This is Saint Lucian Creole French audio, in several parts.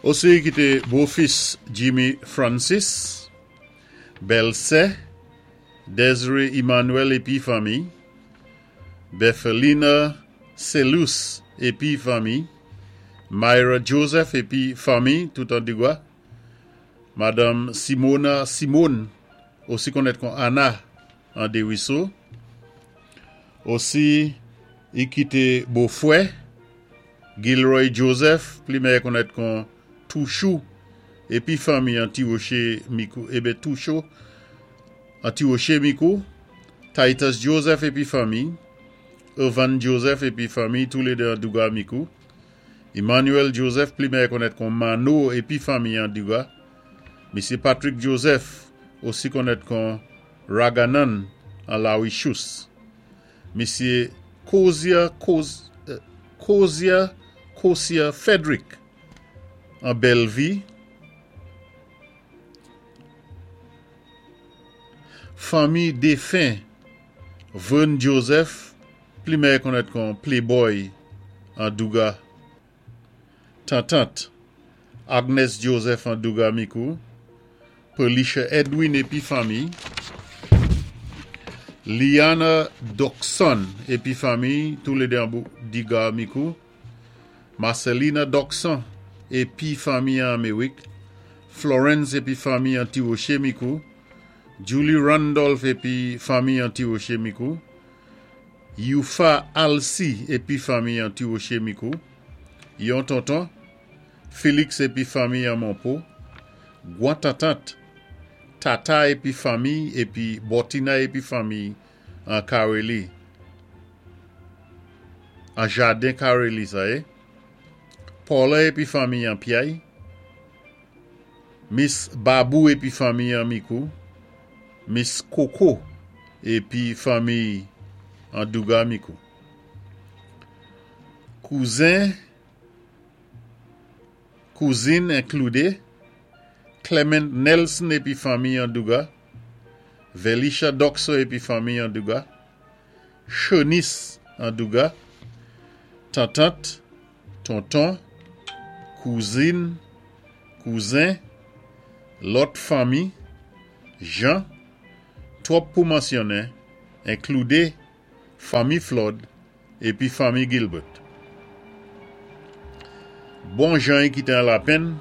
Osi i kité bofis Jimmy Francis, bèlsè Desiree Emmanuel épi fanmi, Bethelina Celus épi fanmi, Myra Joseph épi fanmi, tout an Digwa, Madanm Simona Simone, osi konnèt kon Anna, an Dériso. Osi i kité bofwè Gilroy Joseph, pli mèyè konnèt kon Touchou, épi fanmi an Tiwoché Mikou, ében Toucho, an Tiwoché Mikou, Titus Joseph épi fanmi, Irvan Joseph épi fanmi, toulédé an Douga Mikou, Emmanuel Joseph, pli mèyè konnèt kon Manno épi fanmi an Douga, Misyé Patrick Joseph, osi konnèt kon Raganan an Lawichous. Misyé Kozia Kozia Kosia Frederick an Bèlvi. Fanmi défen Vern Joseph, pli mèyè konnèt kon Playboy an Douga. Tantant Agnes Joseph an Douga Mikou, Pelisha Edwin épi fanmi, Liana Doxon épi fanmi, toulédé an Douga Mikou, Marcelina Doxon épi fanmi an Améwik, Florence épi fanmi an Tiwoché Mikou, Julie Randolph épi fanmi an Tiwoché Mikou, Youfa Alcy épi fanmi an Tiwoché Mikou, yon tonton, Félix épi fanmi an Monpo, gwan tantant, Tata épi fanmi épi Bòtina épi fanmi an Kareli, an Jaden Kareli sa yé, Paula épi fanmi an Pyay, Miss Babou épi fanmi an Mikou, Miss Koko épi fanmi an Douga Mikou. Kouzen, kouzin enkloudé, Clement Nelson épi fanmi an Douga, Velisha Doxo épi fanmi an Douga, Shonice an Douga, tantant, tonton, kouzin, kouzen, lòt fanmi, jan, twòp pou mansyonnen, enkloudé fanmi Flood épi fanmi Gilbert. Bon jan i kité an lapenn,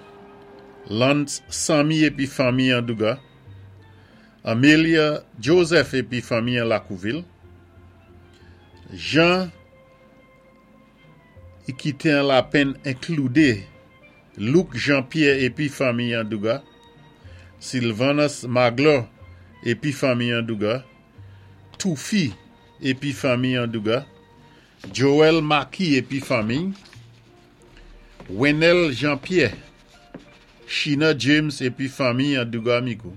Lantz Sammy épi fanmi an Douga, Amelia Joseph épi fanmi an Lakouvil, jan i kité an lapenn enkloudé Luc Jean-Pierre épi fanmi an Douga, Sylvanus Magloire épi fanmi an Douga, Toufi épi fanmi an Douga, Joel Maki épi fanmi, Wenel Jean-Pierre, Shina James épi fanmi an Douga Mikou,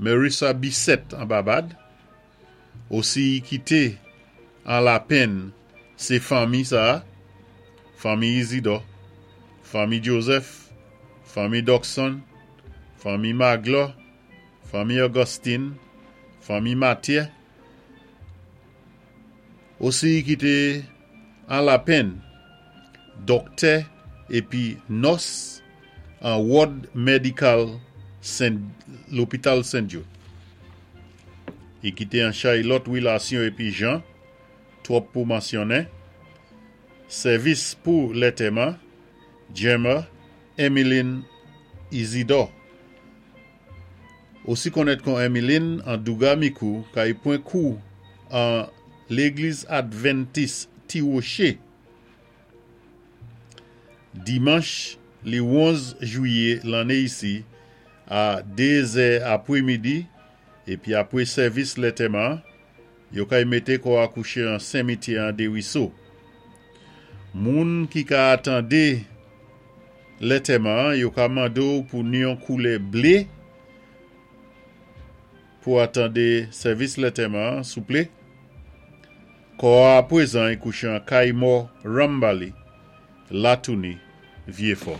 Marissa Bissette an Babad, osi i kité an lapenn sé fanmi sa-a, fanmi Isidore, fanmi Joseph, fanmi Doxon, fanmi Magloire, fanmi Augustine, fanmi Mathieu, osi i kité an lapenn dòktè épi nòs an Ward Medical Sent Lopital Sent Jude. I kité an chay lòt wilasyon épi jan, twòp pou mansyonnen. Sèvis pou lètèman, Gemma Emmeline Isidore, osi konnèt kon Emmeline an Douga Mikou kay pwen kou an Légliz Adventis Ti Woché dimanch li 11 jwiyé lanné isi a 2 zè apwémidi épi apwé sèvis lètèman yo kay mété kò a kouché an senmityè an Deriso. Moun ki ka atandé lètèman yo ka mandé w pou ni yon koulè blé pou atandé sèvis lètèman souplé. Kò a apwézan i kouché an kay mò Rambali, Latouni, Vyéfò.